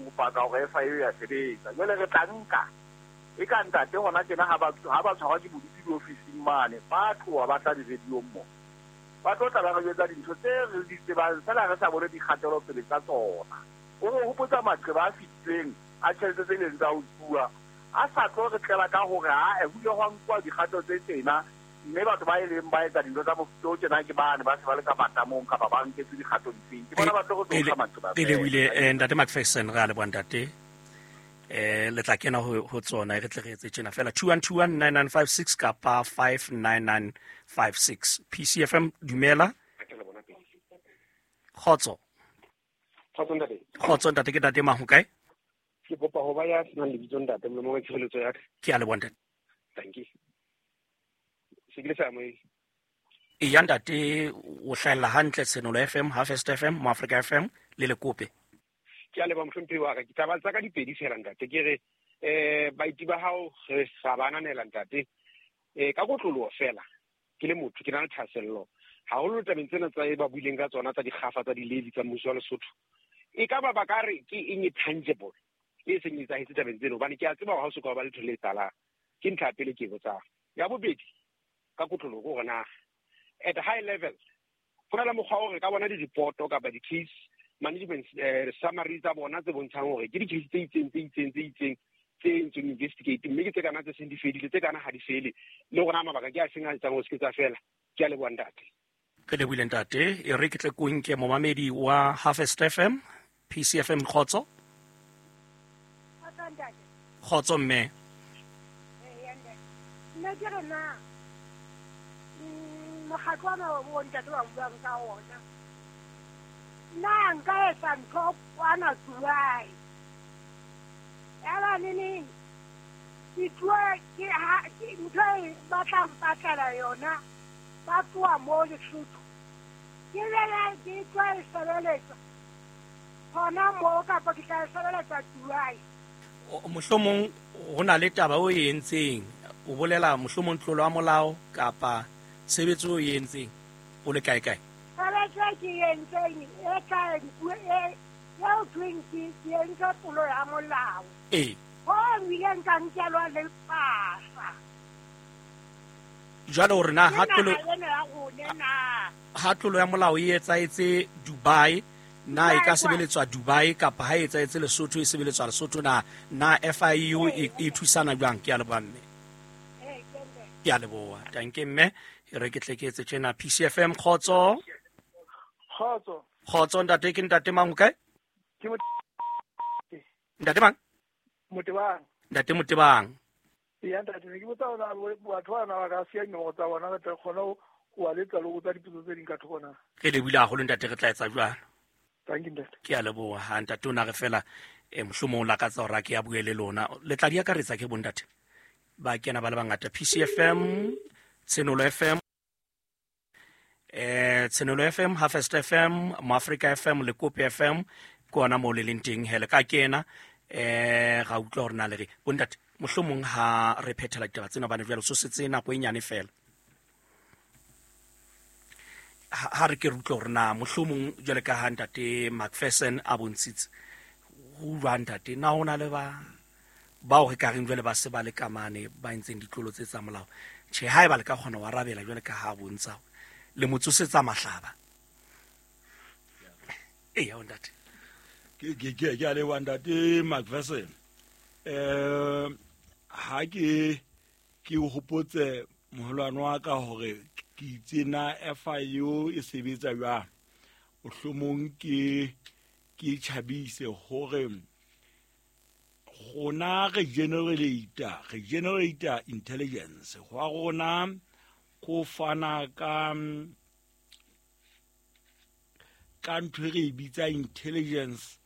radiong ho paka hore FIU ya sebetsa. Jwale re tla nka e ka ntate hona tjena ha ba tshwarwa ke bodutu diofising mane, ba tloha ba tla di-radiong mo. Ba tlo tla ba re jwetsa dintho tse re di tsebang feela re sa bone dikgatelopele tsa tsona. O re hopotsa maqeba a fetileng a tjhelete tse ileng tsa utsuwa a sa tlo re tlela ka hore ae ho ile hwa nkuwa dikgato tse tjena mme batho ba e leng ba etsa dintho tsa mofuta o tjena ke bane ba se ba le ka matamong kapa ba nketswe dikgato difeng. Ke bona ba tlo re tsosa maqeba Pele o ile ntate Macpherson re a leboha ntate. Le tla kena ho tsona e re tle re etse tjena fela 21219956 kapa 59956. PCFM dumela. Kgotso. Kgotso ntate. Kgotso ntate, ke ntate mang ho kae? Ke kopa ho ba ya senang lebitso ntate, molomong wa tshireletso ya ka. Ke a leboha ntate. Thank you. Se ke le sa moe. E ya ntate, o hlahella hantle Tshenolo FM, Harvest FM, Moafrika FM le Lekope. Ke a leboha mohlomphehi wa ka. Ke taba tsa ka di pedi fela ntate. Ke re baeti ba hao re sa ba ananela ntate. Ka kotloloho fela ke le motho ke na le thahasello haholo tabeng tsena tsa e ba buileng ka tsona tsa dikgafa tsa di-levy tsa mmuso wa Lesotho. E ka ba ba ka re ke eng e tangible e seng e etsahetse tabeng tseno, hobane ke a tseba hore ha o soka ba letho le etsahalang. Ke ntlha ya pele ke e botsang. Ya bobedi ka kotloloho ke hore na at high level ho na le mokgwa o re ka bona di-report-o kapa di-case management summary tsa bona tse bontshang hore ke di-case tse itseng tse itseng tse itseng tse entsweng investigate, mme ke tse kana tse seng di fedile, tse kana ha di fele, le hore na mabaka ke a seng a etsang hore se ke tsa fela. Ke a leboha ntate. Re lebohile ntate. E re ke tle ko nke momamedi wa Harvest FM, PCFM. Kgotso. Kgotso ntate. Kgotso mme. Eya ntate. Nna ke re na, mokgatlo ona o ntate wa buang ka ona, na nka etsa ntho kwana Dubai? Eba neneng ke tloha ke ha ke ntho e batla mpatlela yona, ba tloha mo Lesotho. Ke bele ke tlo e sebeletsa hona mo kapa ke tla e sebeletsa Dubai. Mohlomong ho na le taba o e entseng, o bolela mohlomong tlolo ya molao kapa tshebetso o e entseng o le kae kae? Tshebetso e ke e entseng e tla e eo thweng ke entse tlolo ya molao. Ho ileng ka nkelwa le pasa. Jwale hore na ha tlolo Ke naha ena ya rona na? Ha tlolo ya molao e etsahetse Dubai, na e ka Dubai, sebeletswa Dubai kapa ha e etsahetse Lesotho e sebeletswa Lesotho na? Na FIU e thusana jwang? Ke a leboha mme. Ke mme. Ke a leboha. Tanke mme, e re ke tle ke etse tjena. PCFM, kgotso. Kgotso. Kgotso ntate, ke ntate mang o kae? Ke Ntate mang? Motebang. Ntate Motebang. Eya ntate, ne ke botsa hore na batho bana ba ka siya dinomoro tsa bona, re tle re kgone ho ba letsa le ho botsa dipotso tse ding ka thoko na. Re lebohile haholo ntate, re tla etsa jwalo. Thank you ntate. Ke a leboha. Ha ntate o na re fela, mohlomong o lakatsa hore a ke a bue le lona. Le tla di akaretsa ke bontate. Ba kena ba le bangata. PCFM, Tshenolo FM, Tshenolo FM, Harvest FM, Moafrika FM, Lekope FM, ke ona moo le leng teng. Hele ka kena, ra utlwa hore na le re bontate mohlomong ha re phethela ditaba tsena, hobane jwale so setse nako e nyane fela. Ha re ke re utlwe hore na mohlomong jwale ka ha ntate Macpherson a bontshitse ho jwang ntate, na ho na le ba bao re ka reng jwale ba se ba le kamane ba entseng ditlolo tse tsa molao? Tjhe, ha eba le ka kgona ho arabela jwale ka ha bontsha le mo tsosetsa mahlaba. Eya, o ntate. Ke a leboha ntate Macpherson. Ha ke hopotse moholwane wa ka hore ke itse na FIU e sebetsa jwang, mohlomong ke tjhabise hore rona re generator intelligence hwa rona ko fana ka ntho e re e bitsa intelligence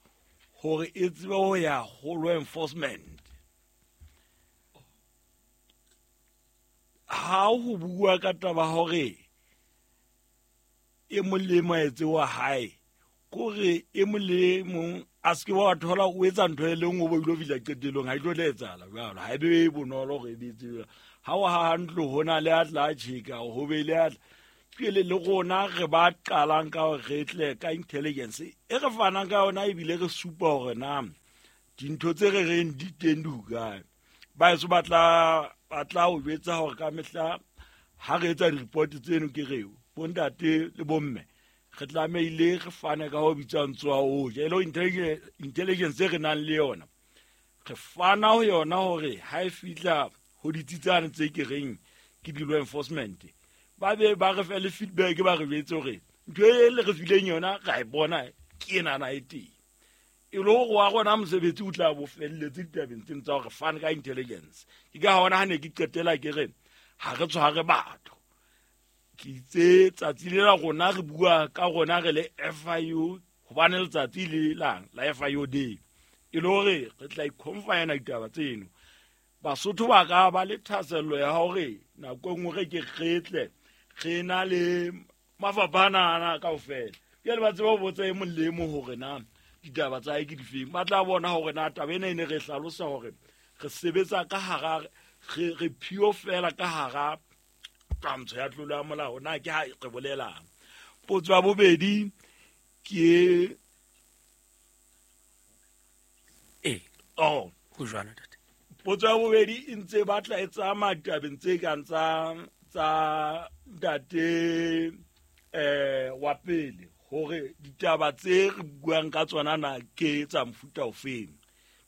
hore e tsebe ho ya ho law enforcement. Ha ho bua ka taba hore e mong le mong a etse wa hae, kore e mong le mong a se ke wa thola o etsa ntho e le nngwe, o bo ilo fihla qetellong, ha e tlo tla etsahala jwalo. Ha e be bonolo hore e be tsebe. Ha o haha ntlo, ho na le a tla tjheka, ho be le a tla. Pele le rona re ba qalang ka hore re tle ka intelligence e re fanang ka yona, ebile re supa hore na Dintho tse re reng di teng di hokae. Ba eso ba tla o jwetsa hore ka mehla ha re etsa di-report tseno ke reo bontate le bomme re tlamehile re fane ka ho bitswang tsoa o ja e le intelligence e re nang le yona, re fana ho yona hore ha e fihla ho ditsitsane tse ke reng ke di-law enforcement, ba be ba re fe le feedback, ba re jwetse hore ntho e le re fileng yona ra e bona ke enana e teng, e le hore wa rona mosebetsi o tla bo felletse ditabeng tseno tsa hore fane ka intelligence. Ke ka hona ha ne ke qetela ke re ha re tshware batho, ke itse tsatsi le la rona re bua ka rona re le FIU, hobane letsatsi le lang la FIU Day, e le hore re tla iconfina ditaba tseno. Basotho ba ka ba le thahasello ya hore nako e nngwe re ke re tle re na le mafapha ana kaofela, jwale ba tseba ho botsa e mong le e mong hore na ditaba tsa hae ke difeng. Ba tla bona hore na taba ena e ne re hlalosa hore re sebetsa ka hara re phio fela ka hara twantsho ya tlolo ya molao, na ke ha re bolelang. Potso ya bobedi ke Ee. Oh. Ho jwalo, ntate. Potso ya bobedi e ntse batla e tsamaya ditabeng tse kang tsa ntate wa pele, hore ditaba tse re buang ka tsona na ke tsa mofuta ofeng.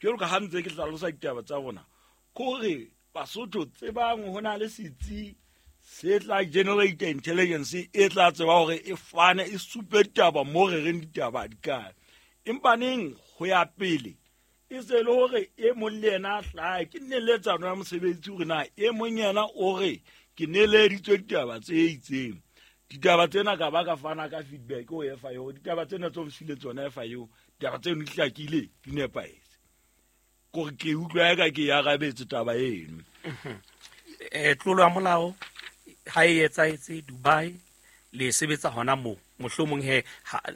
Jwalo ka ha ntse ke hlalosa ditaba tsa rona, kore Basotho tsebang ho na le setsi se tla generate intelligence e tla tseba hore e fane e supe ditaba mo re reng ditaba di kae. Empa neng ho ya pele e se le hore e mong le yena a hlahe ke neletsano ya mosebetsi, hore na e mong yena o re ke neleditswe ditaba tse itseng, ditaba tsena ka ba ka fana ka feedback ho FIU, ditaba tsena tse o mfile tsona FIU, ditaba tseno di hlakile, di nepahetse, kore ke utlwa eka ke e arabetse taba eno. Tlolo ya molao ha e etsahetse Dubai, le sebetsa hona moo, mohlomong he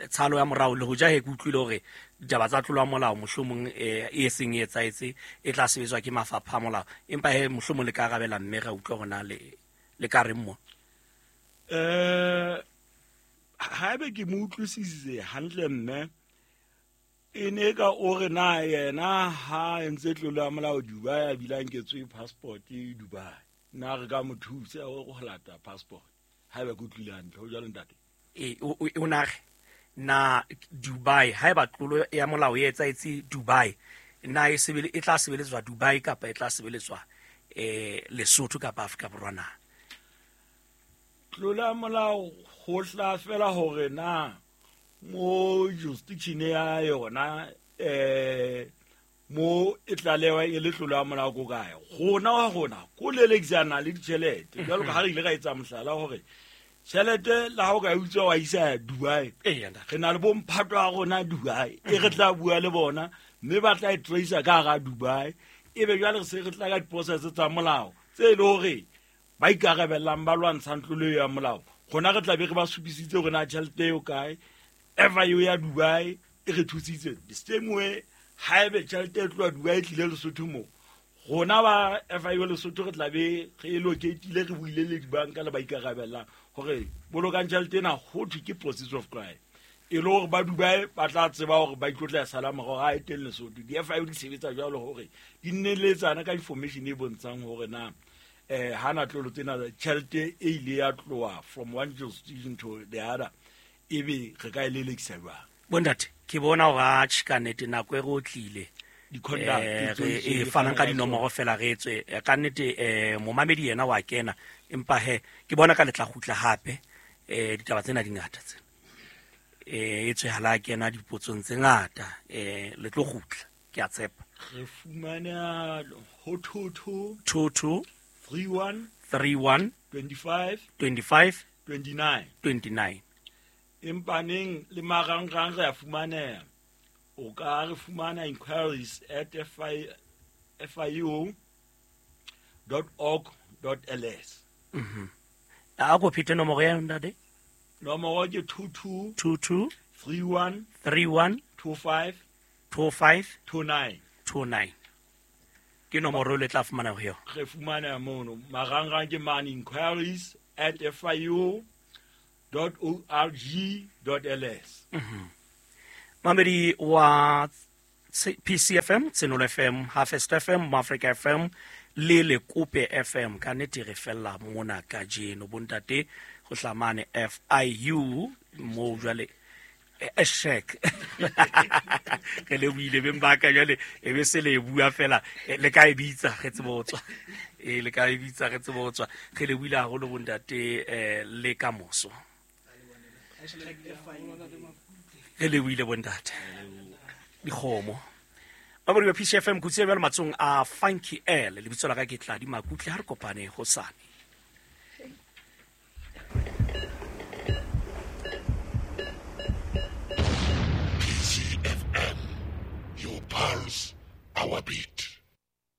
tshalo ya morao le hoja he ke utlwile hore ditaba tsa tlolo ya molao mohlomong e seng e etsahetse e tla sebetswa ke mafapha a molao, empa he mohlomong le ka arabela mme ra utlwa hore na le ka reng mo. Haebe ke mo utlwisisitse hantle mme, e ne ka o re na yena ha entse tlolo ya molao Dubai a bile a nketswe passport Dubai, na re ka mo thusa ho lata passport? Haeba ke utlwile hantle, ho jwalo ntate? E o na re na Dubai haeba tlolo ya molao e etsahetse Dubai, na e sebele e tla sebeletswa Dubai kapa e tla sebeletswa Lesotho kapa Afrika Borwa na? Tlolo ya molao ho tla fela hore na mo jurisdiction ya yona mo e tlalewa e le tlolo ya molao ko kae. Rona wa rona ko lelekisana le ditjhelete, jwalo ka ha re ile ra etsa mohlala hore tjhelete la ha o ka e utswa wa isa Dubai, re na le bomphato wa rona Dubai e re tla bua le bona mme ba tla e tracer ka hara Dubai, ebe jwale re se re tla ka di-process tsa molao tse e le hore ba ikarabellang ba lwantshang tlolo ya molao, rona re tla be re ba supisitse hore na tjhelete eo kae. FIU ya Dubai e re thusitse the same way. Haebe tjhelete e tloha Dubai e tlile Lesotho mo, rona ba FIU Lesotho re tla be re e locate-ile, re buile le dibanka le ba ikarabellang hore bolokang tjhelete ena, ho thwe ke proceeds of crime, e le hore ba Dubai ba tla tseba hore ba itlotla sala morao ha e teng Lesotho. Di-FIU di sebetsa jwalo hore di nneletsana ka information e bontshang hore na hana tlolo tsena tjhelete e ile ya tloha from one jurisdiction to the other, ebe re ka e lelekisa jwang. Bontate, ke bona hore atjhe ka nnete nako e re otlile. Di-conduct re e fanang ka dinomoro fela re etswe ka nnete momamedi yena wa kena, empa he ke bona ka le tla kgutla hape ditaba tsena di ngata tsena e tswe hala kena dipotsong tse ngata le tlo kgutla, ke a tshepa. Re fumana ho 22 22 31 31 25 25 29 29. Empa neng le marangrang re a fumaneha, o ka re fumana inquiries at fiu.org.ls. A ko phete nomoro ya ntate. Nomoro ke 22 22 31 31 25 25 29. 29 ke nomoro le tla fumana ho yona. Re fumaneha mono marangrang ke mane inquiries at fiu.org.ls. Mamedi wa PCFM, Tsenolo FM, Harvest FM, Mafrika FM le Lekope FM. Ka nnete re fella mona kajeno bontate go hlamane FIU mo jwale shek re lebohile beng ba ka jwale e be se le e bua fela, le ka e bitsa re tsebe ho tswa, le ka e bitsa re tsebe ho tswa. Re lebohile haholo bontate, le ka moso re lebohile bontate dikgomo ba bodi ba PCFM. Kutse jwale matsong a Funky L, lebitso la ka ke Tladi Makutle. Ha re kopane hosane. PCFM, your pulse, our beat.